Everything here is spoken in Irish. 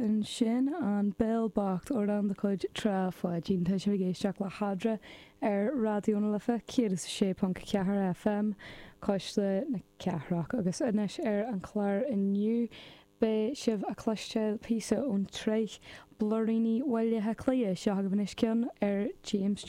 Ansin An Béal Bocht, amhrán de chuid Trá Pháidín. Tá sibh ag éisteacht le hEadra ar Raidió na Life 106.4 FM, Cuisle na Cathrach. Agus anois ar an chlár inniu beidh sibh a chloisteáil píosa ón tsraith Blúiríní Bhaile Átha Cliath. Seo agaibh anois ceann ar James Joyce.